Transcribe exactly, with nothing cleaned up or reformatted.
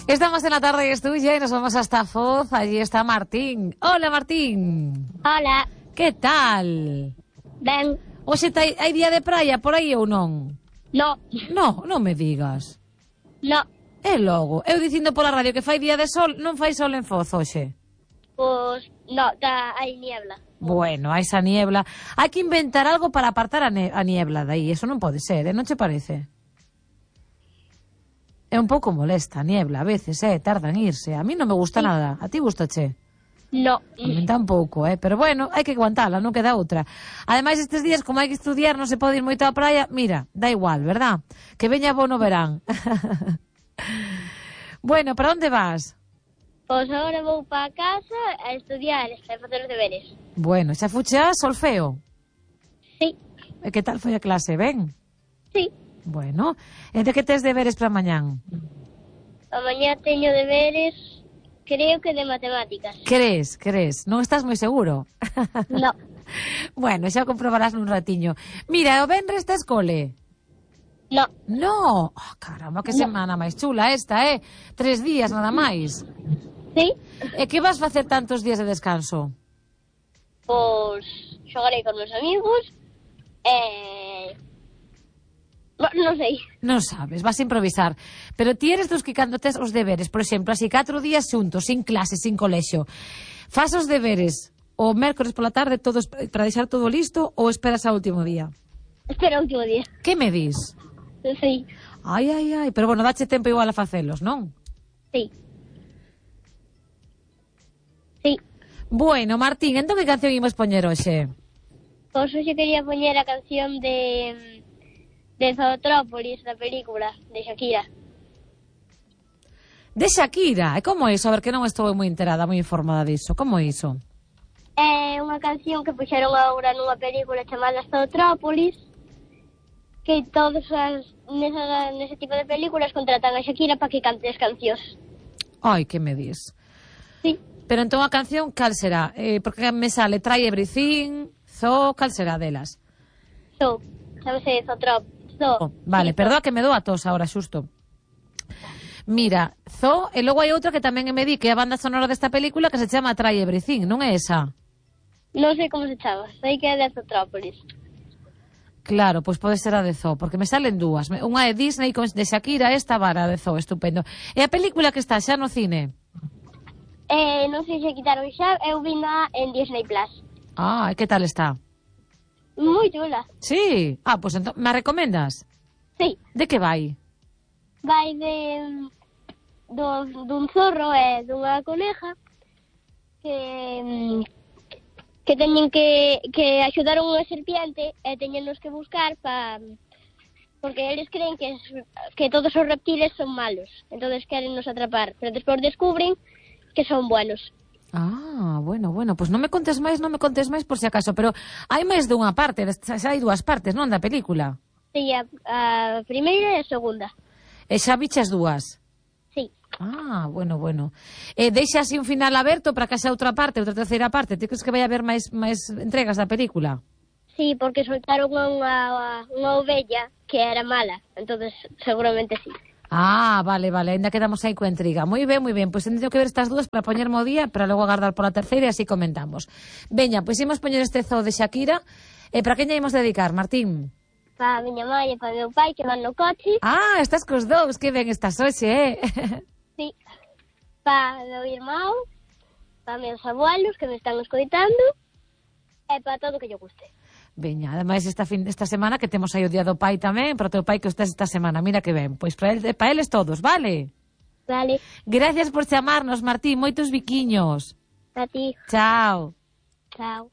Estamos en la tarde y es tuya y nos vamos hasta Foz. Allí está Martín. Hola, Martín. Hola. Que tal? Ben. Oxe, hai, hai día de praia por aí ou non? No. No, non me digas. No. E logo, eu dicindo pola radio que fai día de sol, non fai sol en Foz, hoxe. Pois, no, tá, hai niebla. Bueno, hai esa niebla. Hai que inventar algo para apartar a, ne a niebla de aí. Eso non pode ser, eh? Non che parece? É un pouco molesta a niebla, a veces, eh? Tarda en irse. A mí non me gusta sí. nada. A ti gustache? No. A mí tampouco, eh? Pero bueno, hai que aguantala, non queda outra. Ademais, estes días, como hai que estudiar, non se pode ir moito á praia, mira, da igual, verdad? Que veña bo no verán. Bueno, para onde vas? Pois agora vou para casa a estudiar e facer os deberes. Bueno, xa fuche a solfeo? Sí. E que tal foi a clase, ben? Sí. Bueno, e de que tes deberes para mañán? A mañá teño deberes, creo que de matemáticas. Crees, crees, non estás moi seguro? No. Bueno, xa comprobarás nun ratiño. Mira, o venres tes cole? No. No, oh, caramba, que no. Semana máis chula esta, eh? Tres días nada máis. Sí. E que vas facer tantos días de descanso? Pois xogarei con meus amigos e... non sei. Non sabes, vas a improvisar. Pero ti eres dos que cando tes os deberes, por exemplo, así catro días xuntos, sin clase, sin colexio, fas os deberes o mércores pola tarde todos para deixar todo listo ou esperas ao último día? Espera o último día. Que me dis? Sí. Ai, ai, ai, pero bueno, dache tempo igual a facelos, non? Sí. Sí. Bueno, Martín, entón que canción imos poñer hoxe? Pois hoxe quería poñer a canción de de Zootrópolis, da película, de Shakira. De Shakira? E como é iso? A ver, que non estou moi enterada, moi informada diso. Como é iso? É unha canción que puxeron agora nunha película chamada Zootrópolis, que todos as, nesa, nese tipo de películas contratan a Shakira para que cante as cancións. Ai, que me dis? Sí. Pero entón a canción, cal será? Eh, porque me sale Try Everything, Zoo, cal será delas? Zoo, chamase Zootrópolis. Zoo. Oh, vale, sí, perdoa que me dou a tos ahora, xusto. Mira, Zoo, e logo hai outra que tamén me di que é a banda sonora desta película que se chama Try Everything, non é esa? Non sei como se chama, sei que é de Zootrópolis. Claro, pois pode ser a de Zoo, porque me salen dúas. Unha é Disney de Shakira, esta vara de Zoo, estupendo. E a película que está xa no cine? Eh, non sei se quitaron xa, eu vina en Disney Plus. Ah, e que tal está? Moi chula. Sí? Ah, pois entón, me recomendas? Sí. De que vai? Vai de do, dun zorro e dunha coneja que que teñen que, que axudar a unha serpiente e teñenos que buscar pa, porque eles creen que, que todos os reptiles son malos, entonces queren nos atrapar, pero despois descubren que son buenos. Ah, bueno, bueno, pois pues non me contes máis, non me contes máis por si acaso, pero hai máis dunha parte, xa hai dúas partes, non, da película? Sí, a, a primeira e a segunda. E xa viches dúas? Sí. Ah, bueno, bueno. E deixa así un final aberto para que xa outra parte, outra terceira parte. Ti crees que vai haber máis máis entregas da película? Sí, porque soltaron unha, unha ovella que era mala, entonces seguramente sí. Ah, vale, vale, ainda quedamos aí coa intriga. Moi ben, moi ben, pois pues, teño que ver estas dúas para poñerme o día, para logo agardar pola terceira e así comentamos. Veña, pois pues, imos poñer este Zoo de Shakira. E para quen lle imos dedicar, Martín? Para a miña mãe e para meu pai que van no coche. Ah, estás cos dous, que ben estás hoxe, eh? Sí. Para meu irmão, para meus abuelos que me están escoitando e para todo o que lle guste. Veña, ademais esta fin esta semana que temos aí o Día do Pai tamén, para o teu pai que estés esta semana, mira que ben. Pois para el, para eles todos, vale? Vale. Gracias por chamarnos, Martín, moitos biquiños. A ti. Chao. Chao.